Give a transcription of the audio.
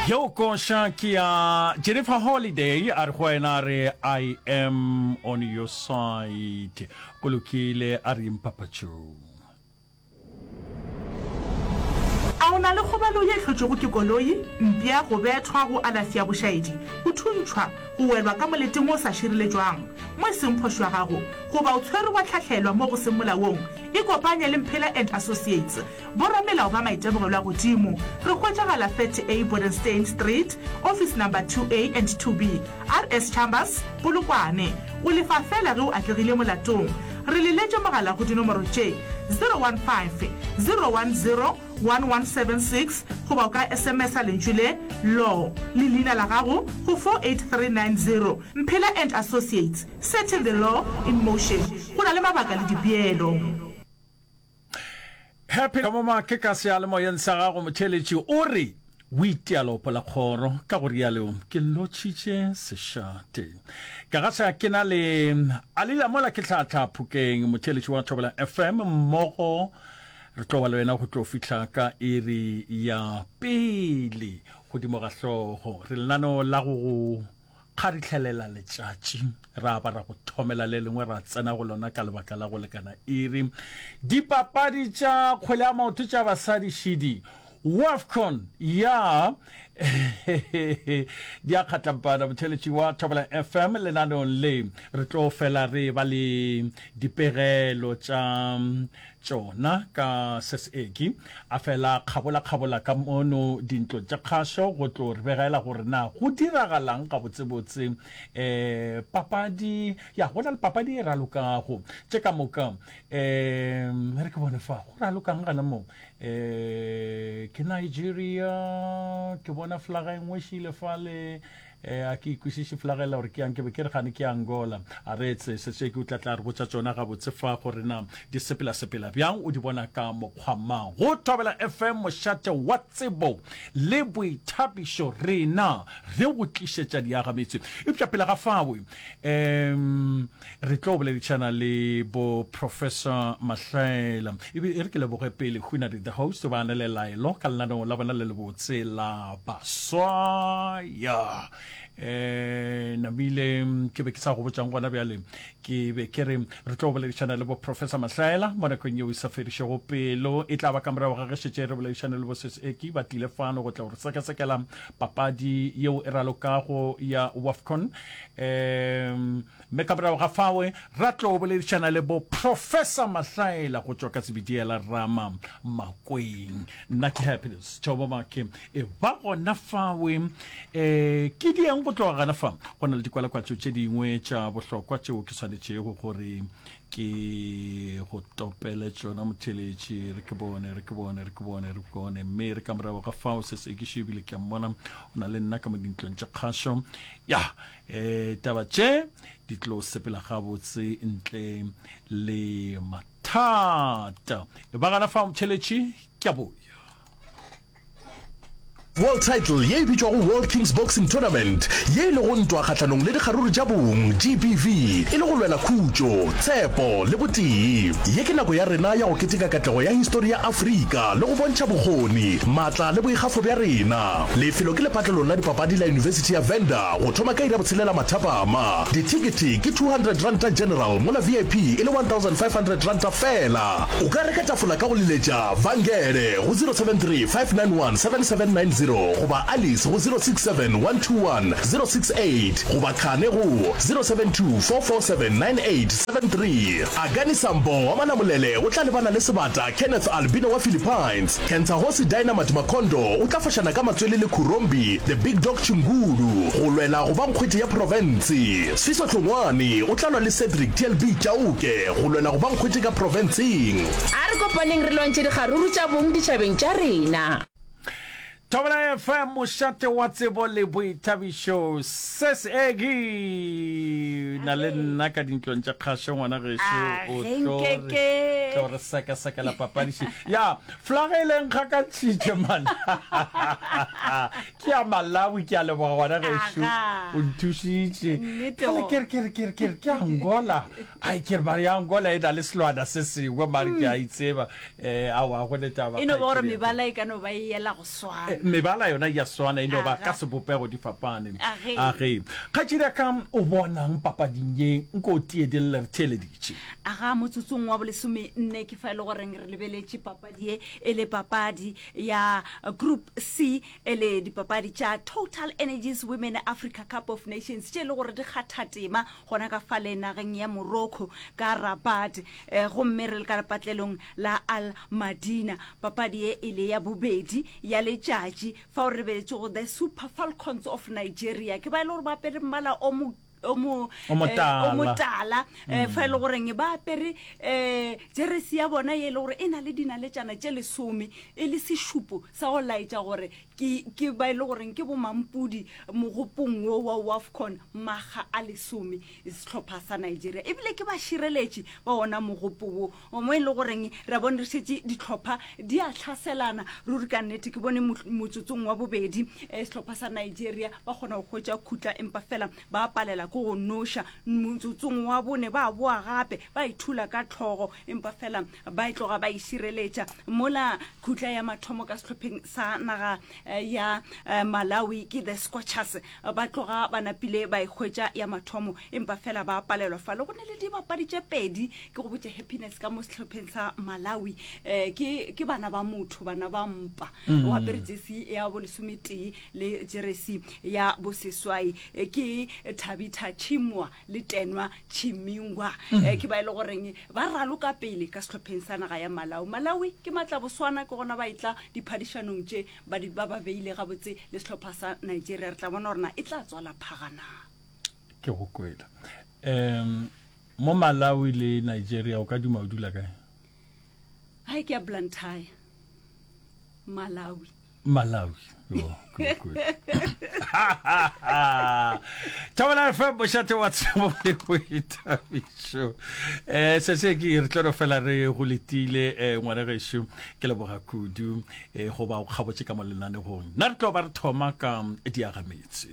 Yeo koša ke ya Jennifer Holiday a re go wena a re I am on your side. Go lokile a re mpapatšong. A o na le kgobalo ye e hlotšwego ke koloi, mpša, go bethwa, go alafša bošaedi, go thuntšhwa, go welwa ka moleteng wo o sa šireletšwang, mo e seng phošo ya gago, goba o tshwerwe wa hlahlelwa mo go seng molaong? Ikopanye le Mphela and Associates, boramelao ba maitemogelo a godimo. Re hwetšagala 30A Bodenstein Street, Office Number 2A and 2B, RS Chambers, Polokwane. O lefa feela ge o atlegile molatong. Re leletše mogala go dinomoro tše, 015 010 1176 goba o ka SMS-a lentšu le, Law, le leina la gago go 48390. Mphela and Associates, setting the law in motion. Go na le mabaka le dipeelo. Happy Kamoma ke ka seyalemoyeng sa gago motheeletši o re o itia leopo la kgoro ka go rialo ke lotšhitše sešate ka ga sa ke na le Alila mola ke tlhatlha phokeng motheeletši wa Thobela FM mmogo re tlo ba le wena go tlo fihla ka iri ya pele godimo ga hlogo re lenano la go go Kgaritlhelela letšatši, ra ba ra go thomela le lengwe ra tsena go lona ka lebaka la go lekana iri. Dipapadi tša kgwele ya maoto tša basadi šidi, WAFCON ya di a kgatlampana. Motheeletši wa Thobela FM lenaneong le re tlo fela re ba le dipegelo tša tšona ka seseki a fela kgabola-kgabola ka mono dintlong tša kgašo go tlo re begela gore na go diragalang gabotsebotse. Um papadi ya go na le papadi e ralokago tše ka moka. Um re ke bone fa go ralokang gana mo. Um ke Nigeria, ke bona flaga e nngwe šile fale. Eh, a ke ikwešiše flagela gore ke yang, ke be ke re gane ke Angola. A re etse, Seseki o tla tla re botša tšona gabotse fa gore na di sepela-sepela bjang, o di bona ka mokgwa mang. Go Thobela FM, mošate wa tsebo le boithabišo, rena re go tlišetša diagametse. Eupša pele ga fao, um re tlo boledišana le bo Professor Mahlaela. E be e re ke leboge pele Hunadi the host ba na le laelo ka lenaneo la bona le lebotse la baswa. Ya eh namile ke be ke sa go botšang gona bjale ke be ke re re tlo boledišana le bo Professor Mahlaela mo nakong yeo e sa fedišego pelo e tla ba ka morago ga ge šetše re boledišane le bo Sis Eki ba tlile fano go tla go re sekasekela papadi yeo e ralokago ya WAFCON um Mme ka morago ga fawe ra tlo boledišana le bo Professor Mahlaela go tšwa ka Zebediela Rama Makweng. Nna ke Happiness Thobo Make. E ba gona fawe. E, ke dieng go tloga gana fa? Go na le dikwalakwatšo tše dingwe tša bohlokwa tšeo ke swanetšego gore ke go topele tšona motheletši. Re ke bone, re ke bone, re ke bone, re ke bone. Mme re ka morago ga fao se se ke šebile ke a mmona o na le nna ka mo dintlong tša kgašo. Ya, E, taba tše di tlo sepela gabotse ntle le mathata. E ba gana fa motšheletši, ke a boya. World Title ye e bitšwago World Kings Boxing Tournament, ye e lego ntwa kgahlanong le dikgaruru tša bong, GBV, e le go lwela khutšo, tshepo le botee. Ye ke nako ya rena ya go keteka katlego ya histori ya Afrika le go bontšha bokgoni, maatla le boikgafo bja rena. Lefelo ke lepatlelong la dipapadi la Yunibesithi ya Venda go thoma ka iri ya botshelela mathapama. Dithekethe ke R200 general mola VIP e le R1500 feela. O ka reka tafola ka go leletša Vangele go 073 591 7790 goba Alice go 067 121 068 goba Khane go 072 447 9873. Akani Sambo wa Manamolele o tla lebana le Sebata Kenneth Albino wa Philippines. Kentsahosi Dynamite Makondo o tla fošana ka matswele le Khurombi The Big Dog Chingulu go lwela go ba nkgwete ya profense. Sfiso Hlongwane o tla lwa le Cedric TLB Chauke go lwela go ba nkgwete ka profenseng. A re kopaneng re lwantšhe dikgaruru tša bong ditšhabeng tša rena. Thobela FM, mošate wa tsebo le boithabišo. Ses Egi na le nna ka dintlong tša kgašo ngwana gešo o tlo re tlo re sekasekela papadiši ya flaga e leng ga ka tšhitše man ke ya Malawi ke a leboga ngwana gešo o nthušitše kgale ke re ke re ke re ke re ke Angola ai ke re mare ya Angola e na le selwana se sengwe mare ke a itseba eh aowa go ne taba E no ba gore mebala e ka no ba e yela go swana. Mebala yona ya swana e no ba ka sebopego di fapane. Age. Kgaetšedi ya ka o bonang papading ye nko o tiedelle re theeleditše. Aga motsotsong wa bolesome nne ke fa e le goreng re lebeletše papadi ye e le papadi ya Group C e le dipapadi tša Total Energies Women Africa Cup of Nations tše e le gore di kgatha tema gona ka fale nageng ya Morocco ka Rabat eh, gomme re le ka lepatlelong la Al Madina. Papadi ye e le ya bobedi ya letšatši fao re lebeletšego the Super Falcons of Nigeria ke ba e le gore ba apere mmala o mo o mo O motala. eh, o motala eh, fa e le goreng ba apere um jeresi ya bona ye e le gore e na le dinaletšana tše lesome e le sešupo sa go laetša gore ke ke ba e le goreng ke bomampudi mogopong wo wa wafcon maga a lesome sehlopha sa nigeria ebile ke bašireletši ba ona mogopo wo mo e le goreng re bone re šetše dihlopha di a hlaselana ruri ka nnete ke bone motsotsong wa bobedi eh, sehlopha sa nigeria ba kgona go hwetša khutla empa fela ba palela ke go noša motsotsong wa bone ba boa gape ba ithula ka tlhogo empa fela ba e tloga ba e šireletša mola khutla ya mathomo ka sehlopheng sa naga eh, ya eh, malawi ke the scorchers ba tloga ba napile ba e hwetša ya mathomo empa fela ba palelwa fale go ne le dibapadi tše pedi ke go botše happiness ka mo sehlopheng sa malawi um ke, ke bana ba motho bana ba mpa mm. o apere jesi ya bolesometee le jeresi ya boseswai eh, ke thabitha chimwa le tenwa chimingwa mm. eh, ke ba e le goreng ba raloka pele ka sehlopheng sa naga ya malawi malawi ke matlaboswana ke gona ba etla diphadišanong tše ba di ba ba beile gabotse le sehlopha sa Nigeria re tla bona gore na e tla tswala phaga na. Ke go kwele. Um mo Malawi le Nigeria o ka duma o dula kae? Hai ke ya Blantyre. Malawi. Malawi. Yo, ke go kwele. Thobela FM mošate wa tsebo le boithabišo. Eh se se ke re tlo no fela re go letile eh ngwana gešo ke leboga kudu. E, goba o kgabotše ka mo lenanegong. Nna re tlo ba re thoma ka diagametse.